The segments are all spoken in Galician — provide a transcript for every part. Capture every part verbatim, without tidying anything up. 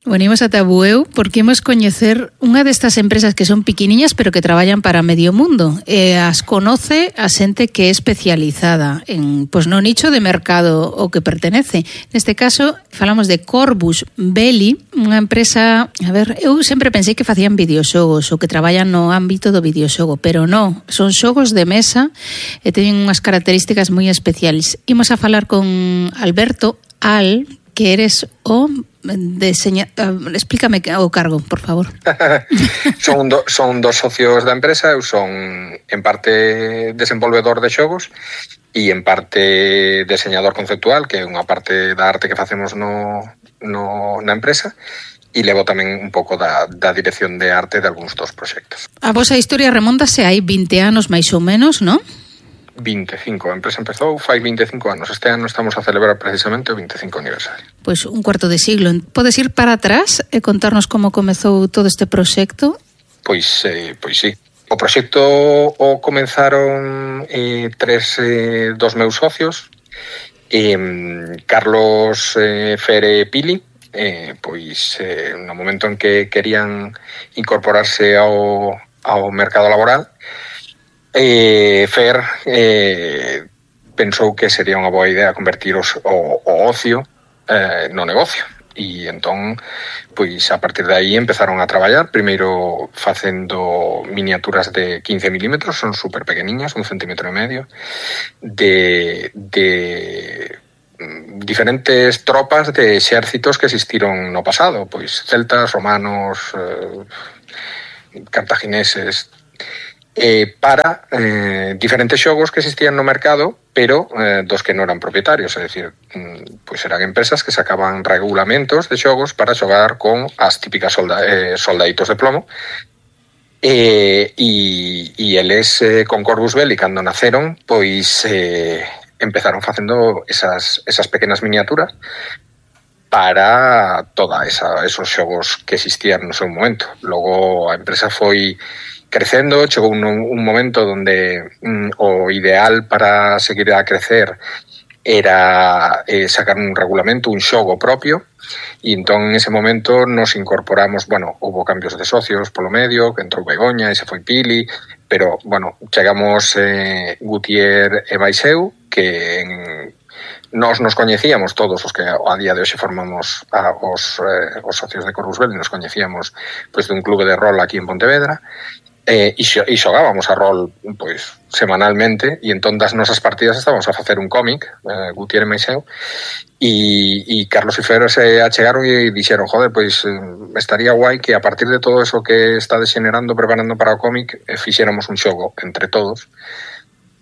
Venimos ata Bueu porque imos coñecer unha destas empresas que son piquiniñas pero que traballan para medio mundo. E as conoce a xente que é especializada en, pois, no nicho de mercado o que pertenece. Neste caso, falamos de Corvus Belli, unha empresa, a ver, eu sempre pensei que facían videoxogos ou que traballan no ámbito do videoxogo, pero non, son xogos de mesa e teñen unhas características moi especiales. Imos a falar con Alberto Al, que eres o deseña... Uh, explícame o cargo, por favor. son, do, son dos socios da empresa, eu son en parte desenvolvedor de xogos e en parte diseñador conceptual, que é unha parte da arte que facemos no, no, na empresa, e levo tamén un pouco da, da dirección de arte de algúns dos proxectos. A vosa historia remontase hai vinte anos máis ou menos, non? vinte e cinco. A empresa empezou fai vinte e cinco anos. Este ano estamos a celebrar precisamente o vinte e cinco aniversario. Pois un cuarto de siglo. Podes ir para atrás e contarnos como comezou todo este proxecto? Pois, eh, pois sí. O proxecto o comenzaron eh, tres eh, dos meus socios, eh, Carlos eh, Fere Pili, eh, pois eh, no momento en que querían incorporarse ao, ao mercado laboral, Eh, Fer eh, pensou que sería unha boa idea convertir os, o, o ocio eh, no negocio, e entón pois a partir de aí empezaron a traballar, primeiro facendo miniaturas de quince milímetros, son super pequeniñas, un centímetro e medio, de, de diferentes tropas de exércitos que existiron no pasado, pois celtas, romanos, eh, cartagineses, Eh, para eh, diferentes xogos que existían no mercado, pero eh, dos que non eran propietarios, é dicir, mm, pois eran empresas que sacaban regulamentos de xogos para xogar con as típicas solda, eh, soldaditos de plomo, e, e, e eles eh, con Corvus Belli, cando naceron, pois eh, empezaron facendo esas, esas pequenas miniaturas para toda esa, esos xogos que existían no seu momento. Logo a empresa foi crecendo, chegou un, un momento donde mm, o ideal para seguir a crecer era eh, sacar un regulamento, un xogo propio, e entón en ese momento nos incorporamos, bueno, houve cambios de socios polo medio, que entrou Begoña e se foi Pili, pero, bueno, chegamos eh, Gutier e Baixeu, que en, nos nos coñecíamos todos os que a día de hoxe formamos a, os, eh, os socios de Corvus Belli, nos coñecíamos pois, de un clube de rol aquí en Pontevedra, Eh, e, xo, e xogábamos a rol pois semanalmente, e entón das nosas partidas estábamos a facer un cómic, eh, Gutiérrez Meixeu, e, e Carlos e Fer se achegaron e dixeron, joder, pois eh, estaría guai que a partir de todo eso que está degenerando, preparando para o cómic, eh, fixéramos un xogo entre todos,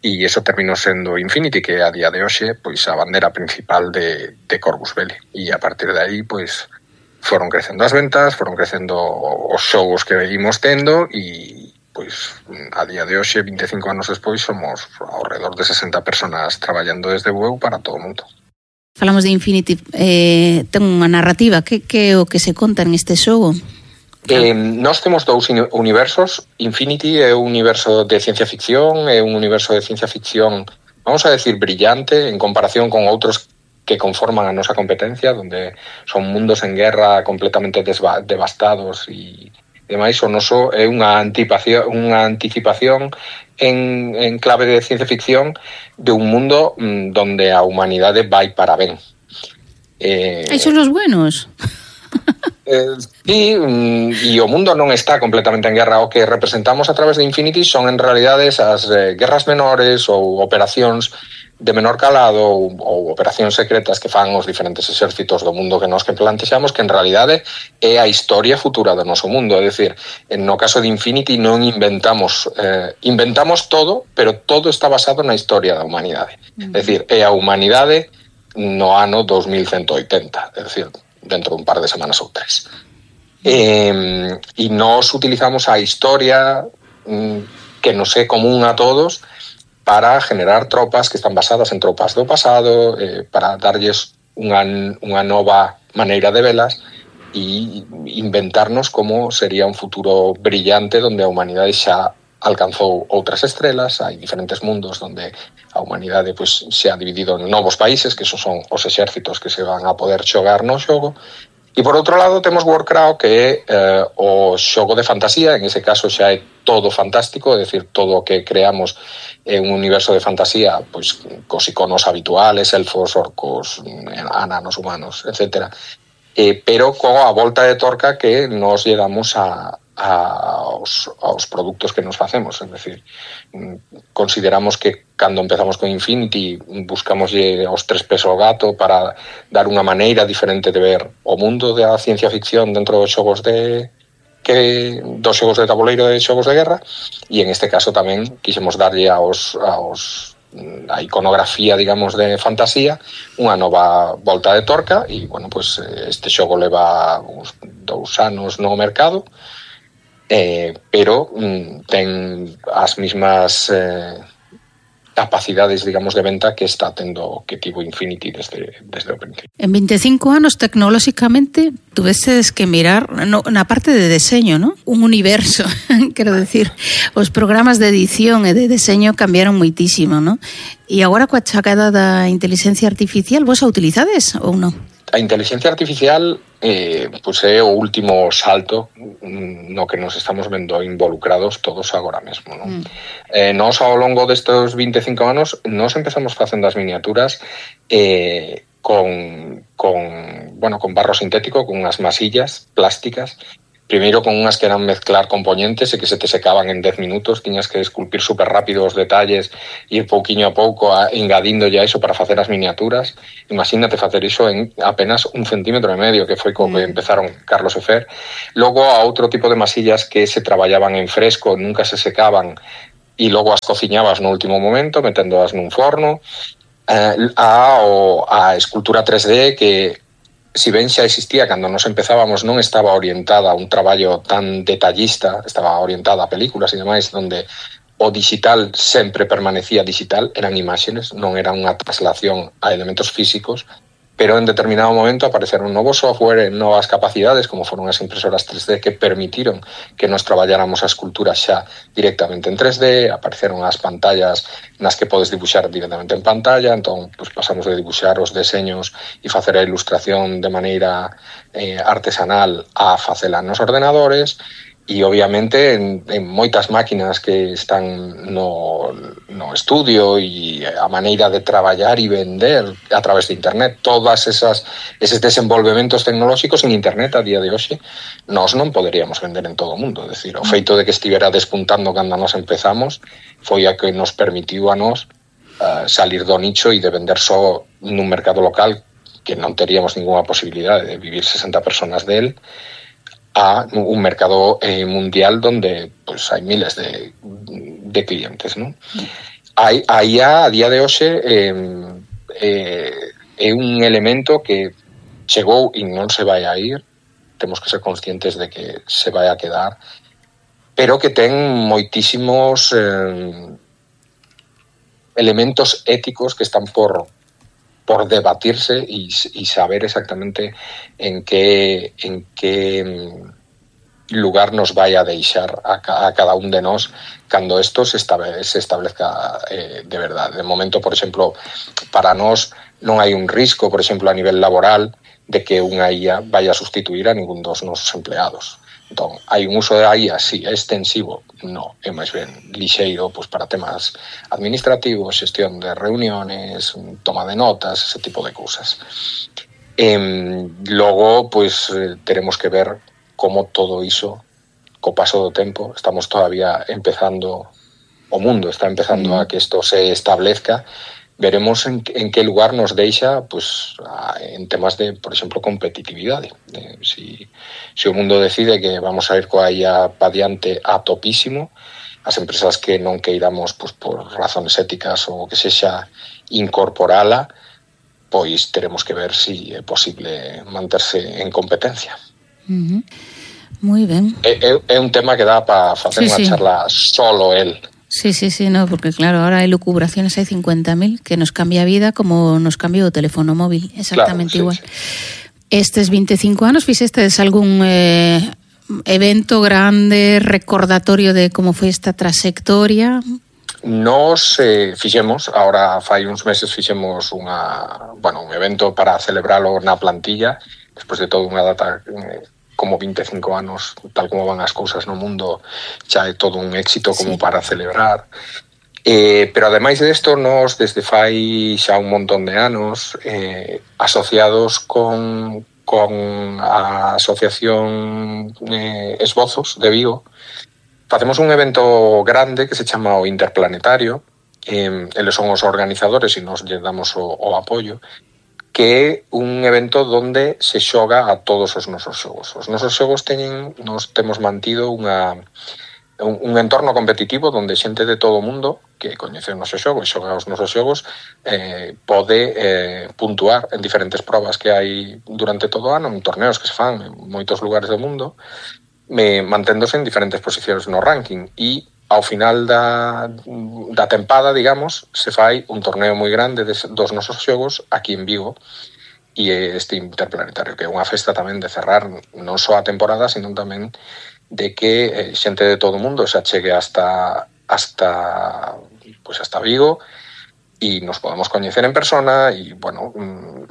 e eso terminou sendo Infinity, que a día de hoxe pois a bandera principal de, de Corvus Belli, e a partir de aí pois foron crecendo as ventas, foron crecendo os xogos que imos tendo, e pois a día de hoxe, vinte e cinco anos despois, somos ao redor de sesenta personas traballando desde Bueu para todo o mundo. Falamos de Infinity, eh, ten unha narrativa, que, que é o que se conta en este xogo? Eh, nós temos dous universos. Infinity é un universo de ciencia ficción, é un universo de ciencia ficción, vamos a decir, brillante, en comparación con outros que conforman a nosa competencia, donde son mundos en guerra completamente devastados e demais. O noso é unha anticipación, unha anticipación en, en clave de ciencia ficción de un mundo mm, donde a humanidade vai para ben. Eh, Aí son os buenos. Eh, sí, mm, e o mundo non está completamente en guerra. O que representamos a través de Infinity son en realidades as eh, guerras menores ou operacións de menor calado ou, ou operacións secretas que fan os diferentes exércitos do mundo que nos que plantexamos, que en realidade é a historia futura do noso mundo. É dicir, no caso de Infinity non inventamos eh, inventamos todo, pero todo está basado na historia da humanidade. Uh-huh. É dicir, é a humanidade no ano dos mil ciento oitenta, é dicir, dentro dun par de semanas ou tres. Eh, e nós utilizamos a historia mm, que nos é común a todos para generar tropas que están basadas en tropas do pasado, eh, para darlles unha, unha nova maneira de velas e inventarnos como sería un futuro brillante onde a humanidade xa alcanzou outras estrelas. Hai diferentes mundos onde a humanidade pues, se ha dividido en novos países, que esos son os exércitos que se van a poder xogar no xogo, E por outro lado temos Warcraft, que é eh, o xogo de fantasía, en ese caso xa é todo fantástico, é dicir, todo o que creamos é un universo de fantasía, pois cos iconos habituales, elfos, orcos, ananos, humanos, etcétera. Eh, pero coa volta de torca que nos llegamos a, a aos, aos produtos que nos facemos, é dicir, consideramos que cando empezamos con Infinity buscamos os tres pés ao gato para dar unha maneira diferente de ver o mundo da ciencia ficción dentro dos xogos de que dos xogos de tabuleiro de xogos de guerra, e en este caso tamén quixemos darlle aos, aos a iconografía, digamos, de fantasía unha nova volta de torca, e, bueno, pues este xogo leva uns dous anos no mercado, eh, pero mm, ten as mismas eh, capacidades, digamos, de venta que está tendo que tivo Infinity desde, desde o principio. En veinticinco anos, tecnolóxicamente, tuveses que mirar no, na parte de deseño, ¿no? Un universo, quero decir, os programas de edición e de deseño cambiaron moitísimo, ¿no? E agora coa chegada da inteligencia artificial, vos a utilizades ou non? A inteligencia artificial eh, pues é o último salto no que nos estamos vendo involucrados todos agora mesmo, ¿no? Mm. Eh, nos ao longo destes veinticinco anos nos empezamos facendo as miniaturas eh, con, con, bueno, con barro sintético, con unhas masillas plásticas. Primeiro con unhas que eran mezclar componentes e que se te secaban en dez minutos, tiñas que esculpir super rápido os detalles, ir pouquiño a pouco a, engadindo ya iso para facer as miniaturas. Imagínate facer iso en apenas un centímetro e medio, que foi co que empezaron Carlos e Fer. Logo a outro tipo de masillas que se traballaban en fresco, nunca se secaban, e logo as cociñabas no último momento, meténdoas nun forno. Eh, a, o, a escultura tres D que si ben xa existía cando nos empezábamos, non estaba orientada a un traballo tan detallista, estaba orientada a películas e demais, onde o digital sempre permanecía digital, eran imágenes, non era unha traslación a elementos físicos, pero en determinado momento apareceron novos software, novas capacidades, como foron as impresoras tres D, que permitiron que nos traballáramos a escultura xa directamente en tres D, apareceron as pantallas nas que podes dibuixar directamente en pantalla, entón pues, pasamos de dibuixar os deseños e facer a ilustración de maneira eh, artesanal a facela nos ordenadores, e obviamente en, en moitas máquinas que están no, no estudio e a maneira de traballar e vender a través de internet, todas esas eses desenvolvementos tecnolóxicos en internet a día de hoxe, nós non poderíamos vender en todo o mundo, é dicir, o feito de que estivera despuntando cando nos empezamos foi a que nos permitiu a nós uh, salir do nicho e de vender só nun mercado local que non teríamos ninguna posibilidade de vivir sesenta personas del, a un mercado eh, mundial donde pues, hai miles de, de clientes, ¿no? Aí, aí a, a día de hoxe eh, eh, é un elemento que chegou e non se vai a ir, temos que ser conscientes de que se vai a quedar, pero que ten moitísimos eh, elementos éticos que están por por debatirse y, y saber exactamente en qué, en qué lugar nos vai a deixar a, a cada un de nós cando esto se, estabe, se establezca eh, de verdad. De momento, por exemplo, para nós non hai un risco, por exemplo, a nivel laboral, de que unha I A vaya a sustituir a ningún dos nosos empleados. Entón, hai un uso da I A, sí, é extensivo, no, é máis ben lixeiro pues, para temas administrativos, xestión de reuniones, toma de notas, ese tipo de cousas. E, logo, pues, teremos que ver como todo iso, co paso do tempo, estamos todavía empezando, o mundo está empezando a que isto se establezca, veremos en, en que lugar nos deixa pues, a, en temas de, por exemplo, competitividade. Eh, si, si o mundo decide que vamos a ir coa I A pa diante a topísimo, as empresas que non queiramos pues, por razones éticas ou que sexa incorporala, pois teremos que ver si é posible manterse en competencia. Uh-huh. Moi ben. É, é, é un tema que dá para facer sí, unha sí. charla solo el. Sí, sí, sí, no, porque claro, ahora hai lucubraciones, hai cincuenta mil que nos cambia a vida como nos cambia o teléfono móvil, exactamente claro, sí, igual. Sí. Estes veinticinco anos fixestes algún eh, evento grande, recordatorio de como foi esta trayectoria? Nos eh, fixemos, ahora fai uns meses fixemos unha, bueno, un evento para celebralo na plantilla, despois de toda unha data eh, como vinte e cinco anos, tal como van as cousas no mundo, xa é todo un éxito como sí. para celebrar. Eh, pero ademais desto, nós desde fai xa un montón de anos eh, asociados con, con a Asociación eh, Esbozos de Vigo, facemos un evento grande que se chama o Interplanetario. Eh, eles son os organizadores e nos lle damos o, o apoio, que é un evento donde se xoga a todos os nosos xogos. Os nosos xogos teñen, nos temos mantido unha, un, un entorno competitivo donde xente de todo o mundo que coñece o noso xogo e xoga os nosos xogos eh, pode eh, puntuar en diferentes probas que hai durante todo o ano, en torneos que se fan en moitos lugares do mundo, me, manténdose en diferentes posicións no ranking. E ao final da, da tempada, digamos, se fai un torneo moi grande de, dos nosos xogos aquí en Vigo, e este Interplanetario, que é unha festa tamén de cerrar non só a temporada, sino tamén de que eh, xente de todo o mundo se achegue hasta hasta pues hasta Vigo e nos podemos coñecer en persona e, bueno,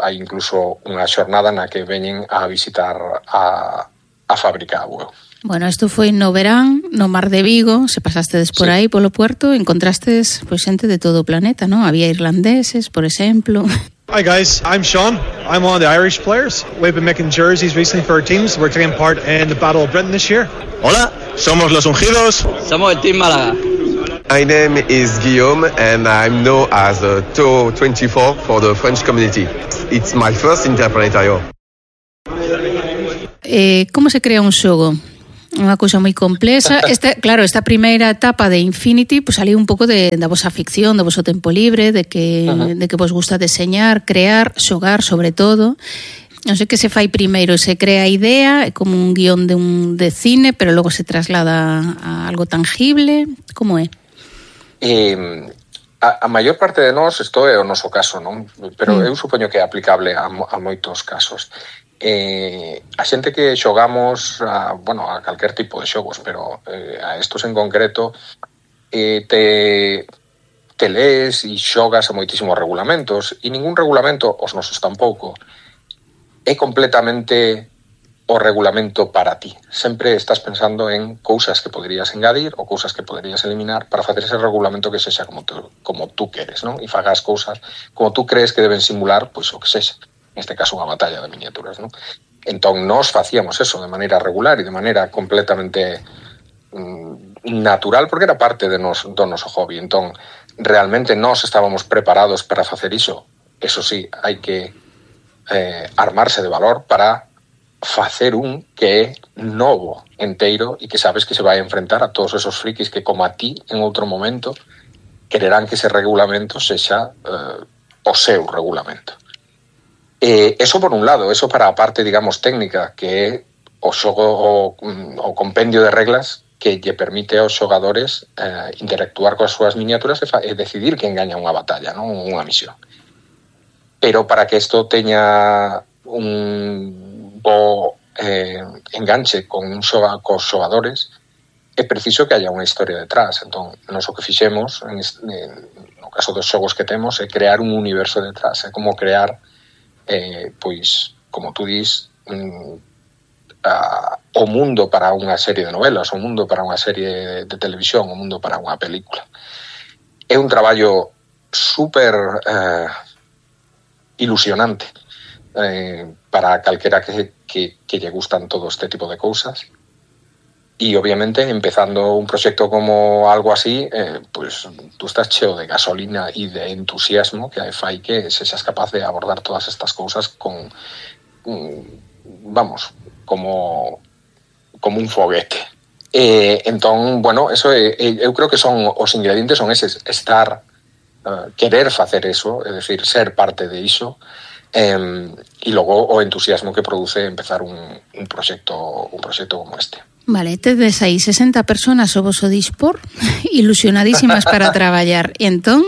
hai incluso unha xornada na que veñen a visitar a, a fábrica a Bueu. Bueno, isto foi no verán, no Mar de Vigo, se pasastes por aí, polo puerto, encontrastes pois xente de todo o planeta, non? Había irlandeses, por exemplo. Hi guys, I'm Sean. I'm one of the Irish players. We've been making jerseys recently for our teams. We're taking part in the Battle of Britain this year. Hola, somos los Ungidos. Somos el Team Málaga. My name is Guillaume and I'm known as a T O twenty-four for the French community. It's my first Interplanetario. Eh, como se crea un xogo? Unha cousa moi complexa. Esta, claro, esta primeira etapa de Infinity, pues saliu un pouco de, da vosa ficción, do voso tempo libre, de que, uh-huh. de que vos gusta deseñar, crear, xogar, sobre todo. Non sei que se fai primeiro, se crea a idea, é como un guión de un de cine, pero logo se traslada a algo tangible. Como é? Eh, a, a maior parte de nós, isto é o noso caso, non? Pero mm. eu supoño que é aplicable a, a moitos casos. Eh, a xente que xogamos a, bueno, a calquer tipo de xogos, pero eh, a estos en concreto eh, te, te lees e xogas a moitísimos regulamentos e ningún regulamento, os nosos tampouco, é completamente o regulamento para ti. Sempre estás pensando en cousas que poderías engadir ou cousas que poderías eliminar para facer ese regulamento que sexa como tú, como tú queres, non? E fagas cousas como tú crees que deben simular, pois o que sexa. Neste caso, unha batalla de miniaturas, non? Entón, nós facíamos eso de maneira regular e de maneira completamente mm, natural, porque era parte de nos, do noso hobby. Entón, realmente nós estábamos preparados para facer iso. Eso sí, hai que eh, armarse de valor para facer un que é novo, enteiro, e que sabes que se vai a enfrentar a todos esos frikis que, como a ti, en outro momento, quererán que ese regulamento sexa eh, o seu regulamento. Eh, eso por un lado, eso para a parte, digamos, técnica, que é o xogo, o, o compendio de reglas que lle permite aos xogadores eh, interactuar coas súas miniaturas e, fa, e decidir quen gaña unha batalla, non unha misión. Pero para que isto teña un bo eh, enganche con un xoga, cos xogadores, é preciso que haya unha historia detrás. Entón, nos o que fixemos, en, en, no caso dos xogos que temos, é crear un universo detrás, é como crear Eh, pois, como tú dis, mm, a, o mundo para unha serie de novelas, o mundo para unha serie de, de televisión, o mundo para unha película. É un traballo super eh, ilusionante eh, para calquera que, que, que lle gustan todo este tipo de cousas. E, obviamente, empezando un proxecto como algo así, eh, pues tú estás cheo de gasolina e de entusiasmo que fai que sexas capaz de abordar todas estas cousas con, vamos, como, como un foguete. Eh, entón, bueno, eso é, eu creo que son os ingredientes son eses, estar, uh, querer facer eso, é dicir, ser parte de iso, eh, e logo o entusiasmo que produce empezar un, un proxecto un proxecto como este. Vale, tedes aí sesenta personas o voso dispor, ilusionadísimas para traballar. E entón,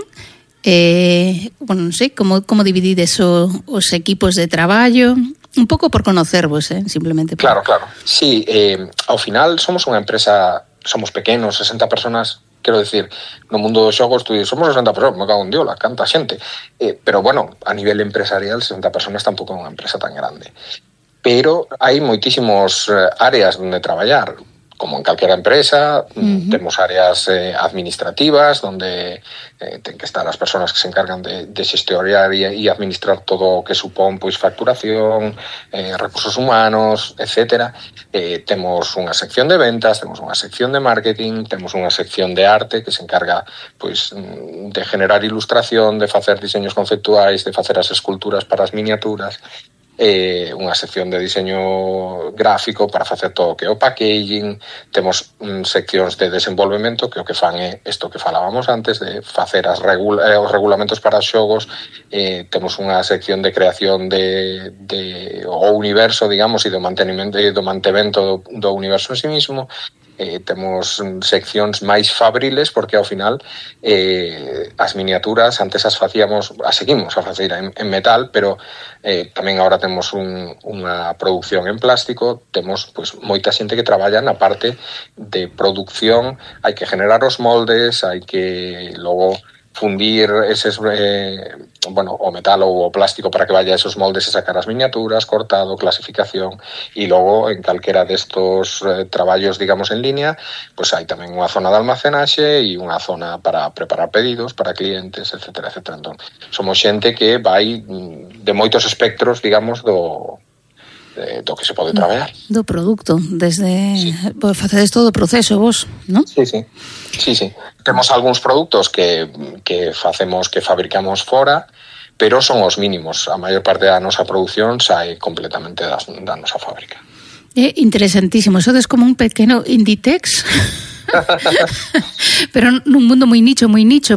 eh, bueno, non sei, como, como dividides o, os equipos de traballo? Un pouco por conocervos, eh, simplemente. Por... Claro, claro. Sí, eh, ao final somos unha empresa, somos pequenos, sesenta personas, quero decir, no mundo dos xogos, tú dices, somos sesenta personas, me cago en diola, canta xente. Eh, pero, bueno, a nivel empresarial, sesenta personas tampouco é unha empresa tan grande. pero hai moitísimos eh, áreas onde traballar. Como en calquera empresa, uh-huh. temos áreas eh, administrativas donde eh, ten que estar as persoas que se encargan de, de xestionar e, e administrar todo o que supón pois facturación, eh, recursos humanos, etcétera. Eh, temos unha sección de ventas, temos unha sección de marketing, temos unha sección de arte que se encarga pois de generar ilustración, de facer diseños conceptuais, de facer as esculturas para as miniaturas. Eh, unha sección de diseño gráfico para facer todo o que é o packaging, temos mm, seccións de desenvolvemento que o que fan é isto que falábamos antes de facer as regula- eh, os regulamentos para os xogos, eh, temos unha sección de creación de, de o universo, digamos, e do mantenimento e do mantemento do, do universo en sí mismo. Eh, temos seccións máis fabriles porque ao final eh, as miniaturas antes as facíamos, as seguimos a facer en, en metal, pero eh, tamén agora temos un, unha producción en plástico, temos pois, moita xente que traballa na parte de producción, hai que generar os moldes, hai que logo fundir eses, eh, bueno, o metal ou o plástico para que vaya esos moldes e sacar as miniaturas, cortado, clasificación, e logo en calquera destos eh, traballos, digamos, en línea, pois hai tamén unha zona de almacenaxe e unha zona para preparar pedidos para clientes, etcétera, etcétera. Entón, somos xente que vai de moitos espectros, digamos, do do que se pode traballar. Do produto, desde... Sí. Pues facedes todo o proceso vos, non? Sí, sí. Sí, sí. Temos algúns produtos que, que facemos, que fabricamos fora, pero son os mínimos. A maior parte da nosa produción sae completamente das, da nosa fábrica. É interesantísimo. Sodes como un pequeno Inditex, pero nun mundo moi nicho, moi nicho,